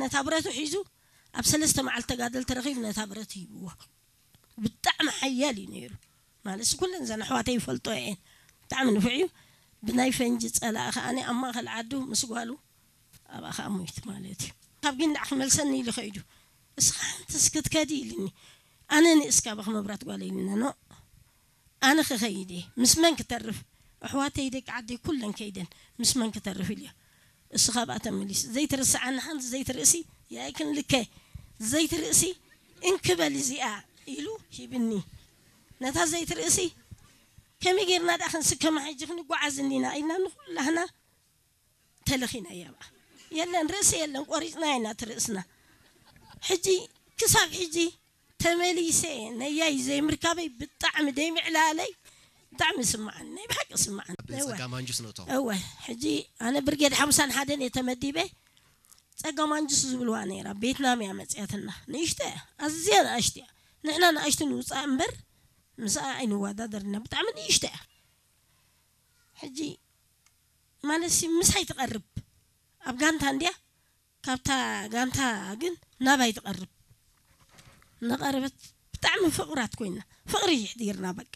ነታ ብረቱ ሒዙ ኣብ ሰለስተ መዓልቲ ተጋደልቲ ረኺቡ ነታ ብረት ሂብዎ። ብጣዕሚ ሓያል እዩ ነይሩ። ማለት ኩለን ዘን ኣሕዋተይ ይፈልጦ እየን። ብጣዕሚ ንፉዕ እዩ። ብናይ ፈንጂ ጸላኢ ከኣ ኣብ ማእከል ዓዱ ምስ ጓሉ ኣብኣ ከኣ ሞይቱ ማለት እዩ። ካብ ጊንዳዕ ክመልሰኒ ኢሉ ኸይዱ። እስኻ ሓንቲ እስክትከዲ ኢልኒ። ኣነ ንእስ ካባኺ ምብራት ጓለይ ኢልና ኖ ኣነ ክኸይድ እየ። ምስ መን ክተርፍ? ኣሕዋተይ ደቂ ዓደይ ኩለን ከይደን ምስ መን ክተርፍ ኢልዮ። እሱ ካብኣ ተመሊሱ ዘይትርስዓኒ ሓንቲ ዘይትርእሲ ያይክን ልከ ዘይትርእሲ እንክበል እዚኣ ኢሉ ሂብኒ። ነታ ዘይትርእሲ ከመይ ጌርና ደኣ ክንስከማ ሕጂ ክንጓዓዝ እንዲና ኢልና ንኩላህና ተለኺና እያ በኣ። የለን ርእሲ የለን ቆሪፅና ኢና እቲ ርእስና። ሕጂ ክሳብ ሕጂ ተመሊሰ ነያይ ዘይምርካበይ ብጣዕሚ ደይምዕላለይ ብጣዕሚ ስማዓን ናይ ብሓቂ ስማዓን። እወ። ጸጋ ማንጁስ ነቶ እወ ሕጂ ኣነ ብርጌድ ሓምሳን ሓደን እየ ተመዲበ። ጸጋ ማንጁስ ዝብልዋ ነይራ ቤትናም እያ መፅያትና። ንእሽተ እያ ኣዝያ ንኣሽተ እያ። ንሕና ንኣሽቱ ንውፃእ እምበር ምስኣ ኣይንወዳደርና ብጣዕሚ ንእሽተ እያ። ሕጂ ማለት ሲ ምሳይ ትቐርብ ኣብ ጋንታ እንድያ። ካብታ ጋንታ ግን ናባይ ትቐርብ። እናቐረበት ብጣዕሚ ፍቕራት ኮይና ፍቕሪ ይሕዲርና በቃ።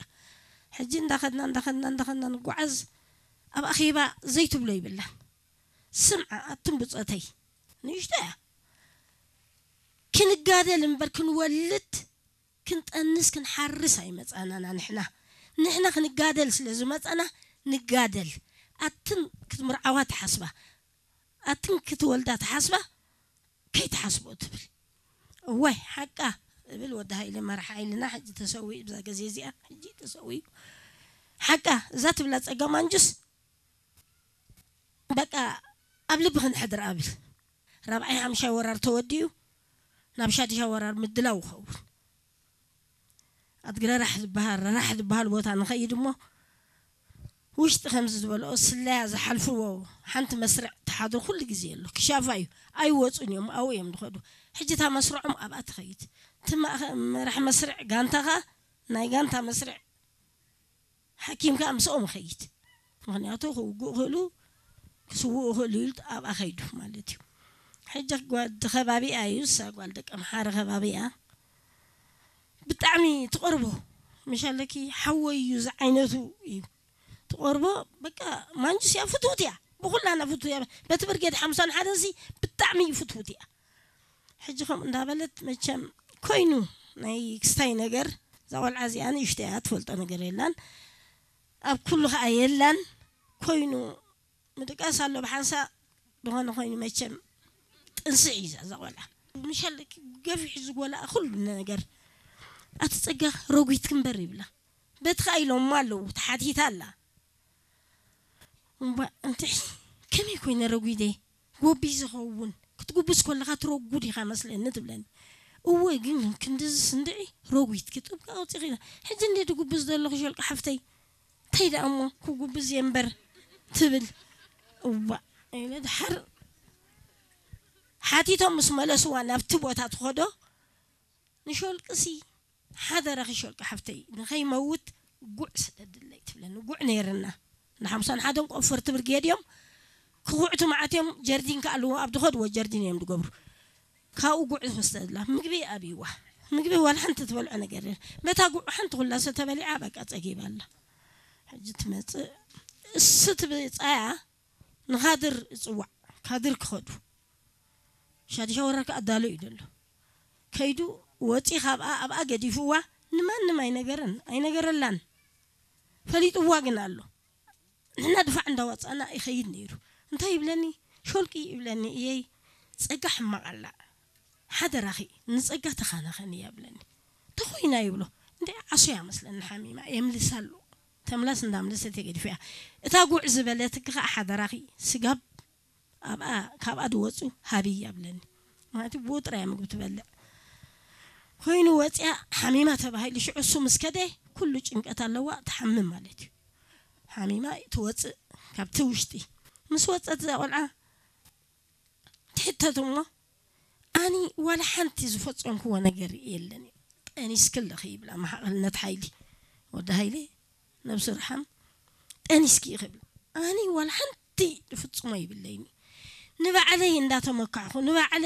ሕጂ እንዳኸድና እንዳኸድና እንዳኸድና ንጓዓዝ ኣብ ኣኼባ ዘይትብሎ ይብላን። ስምዓ ኣቱም ብፆተይ ንእሽቶ እያ። ክንጋደል እምበር ክንወልድ ክንጠንስ ክንሓርስ ኣይመፃናና ንሕና። ንሕና ክንጋደል ስለ ዝመፃና ንጋደል። ኣትን ክትምርዓዋ ትሓስባ ኣትን ክትወልዳ ትሓስባ ከይትሓስቦ ትብል። እዋይ ሓቃ እብል ወዲ ሃይለ መራሕ ሓይልና ሕጂ ተሰዊኡ ብዛ ግዜ እዚኣ ሕጂ ተሰዊኡ። ሓቃ እዛ ትብላ ጸጋ ማንጁስ በቃ ኣብ ልቢ ክንሕድር እብል። ራብዓይ ሓምሻይ ወራር ተወዲኡ ናብ ሻድሻይ ወራር ምድላው ይኸውን። ኣድግረራሕ ዝበሃል ረራሕ ዝበሃል ቦታ ንኸይድ እሞ ውሽጢ ከምዚ ዝበልኦ ስለያ ዝሓልፍዎ ሓንቲ መስርዕ ተሓድሩ ኩሉ ግዜ ኣሎ። ክሻፋ እዩ ኣይወፁን እዮም ኣብኡ እዮም ዝኸዱ። ሕጂ እታ መስርዖም ኣብኣ ትኸይድ። እቲ ማእኸ- መራሕ መስርዕ ጋንታኻ ናይ ጋንታ መስርዕ ሓኪም ከዓ ምስኦም ይኸይድ። ምክንያቱ ክውግኡ ክእሉ ክስውኡ ክእሉ ኢሉ ኣብኣ ከይዱ ማለት እዩ። ሕጂ ጓል ከባቢኣ እዩ እሳ ጓል ደቂ ኣምሓረ ከባቢኣ ብጣዕሚ ትቐርቦ ምሻለኪ ሓወይ እዩ ዝዓይነቱ እዩ ትቐርቦ። በቃ ማንጁስ እያ ፍትውት እያ ብኩላና ፍትው እያ። በቲ ብርጌድ ሓምሳን ሓደን ሲ ብጣዕሚ እዩ ፍትውት እያ። ሕጂ ከምኡ እንዳበለት መቸም ኮይኑ ናይ ክስታይ ነገር እዛ ቆልዓ እዚኣ ንእሽቶ እያ ትፈልጦ ነገር የላን ኣብ ኩሉ ከዓ የላን ኮይኑ ምድቃስ ኣሎ ብሓንሳ ዝኾነ ኮይኑ መቸም ጥንስዕ እዩ እዛ ቆልዓ ምሻል ገፊሕ ዝጎላ ኩሉ ነገር ኣቲ ፀጋ ረጉት ክንበር ይብላ በቲ ከዓ ኢሎማ ኣለዉ ተሓቲታ ኣላ እምባ እንተ ከመይ ኮይነ ረጉደ ጎቢ ዝኸውን ክትጉብስ ከለኻ ትረጉድ ኢኻ መስለኒ ትብለኒ እወ ግን ክንድዚ ስንድዒ ረጉት ክትብካ ኣውፂኺ ሕጂ እንደ ድጉብዝ ዘለኹ ሸልቂ ሓፍተይ እንታይ ደኣ እሞ ክጉብዝ እየ እምበር ትብል እዋ ኢለ ድሓር ሓቲቶም ምስ መለስዋ ናብቲ ቦታ ትኸዶ ንሸልቅሲ ሓደራኺ ሸልቂ ሓፍተይ ንኸይመውት ጉዕ ስደድለይ ትብለኒ ጉዕ ነይርና ንሓምሳን ሓደን ቆፈርቲ ብርጌድ እዮም ክኹዕቱ መዓት እዮም ጀርዲን ከኣልዎ ኣብ ዝኸድዎ ጀርዲን እዮም ዝገብሩ ካብኡ ጉዕ ዝወስደላ ምግቢ ኣብይዋ ምግቢ ዋላ ሓንቲ ትበልዖ ነገር በታ ጉዕ ሓንቲ ኩላ ሰተበሊዓ በቃ ፀጊባ ኣላ ሕጂ ትመፅእ እሱ ትብፃያ ንኻድር እፅዋዕ ካድር ክኸዱ ሻድሻ ወራር ከኣ ኣዳሎ እዩ ዘሎ ከይዱ ወፂ ካብኣ ኣብኣ ገዲፍዋ ንማንም ኣይነገረን ኣይነገረላን ፈሊጥዋ ግን ኣሎ ንሕና ድፋዕ እንዳወፃና ይኸይድ ነይሩ እንታይ ይብለኒ ሾልቂ ይብለኒ እየይ ፀጋ ሕማቕ ኣላ ሓደራኺ ንፀጋ ተኻናኸን እያ ብለኒ ተኾይና ይብሎ እንደ ዓሶ እያ መስለኒ ሓሚማ የምልሳ ኣሎ ተምላስ እንዳምለሰት የገድፍያ እታ ጉዕ ዝበለትኪ ከዓ ሓደራኺ ስጋብ ኣብኣ ካብኣ ድወፁ ሃብይ ኣብለኒ ማለት ብኡ ጥራይ ምግቢ ትበልዕ ኮይኑ ወፅያ ሓሚማ ተባሂሉ ሽዑ እሱ ምስ ከደ ኩሉ ጭንቀት ኣለዋ ትሓምም ማለት እዩ ሓሚማ ትወፅእ ካብቲ ውሽጢ ምስ ወፀት እዛ ቆልዓ ትሕተት እሞ ኣኒ ዋላ ሓንቲ ዝፈፀምክዎ ነገር የለን እዩ ጠኒስኪ ኣለኺ ይብላ መሓቕልነት ሓይሊ ወዲ ሃይለ ነብሱ ርሓም ጠኒስኪ እዩ ክብል ኣኒ ዋላ ሓንቲ ዝፍፅሞ ይብለይኒ ንባዕለይ እንዳተመካዕኹ ንባዕለይ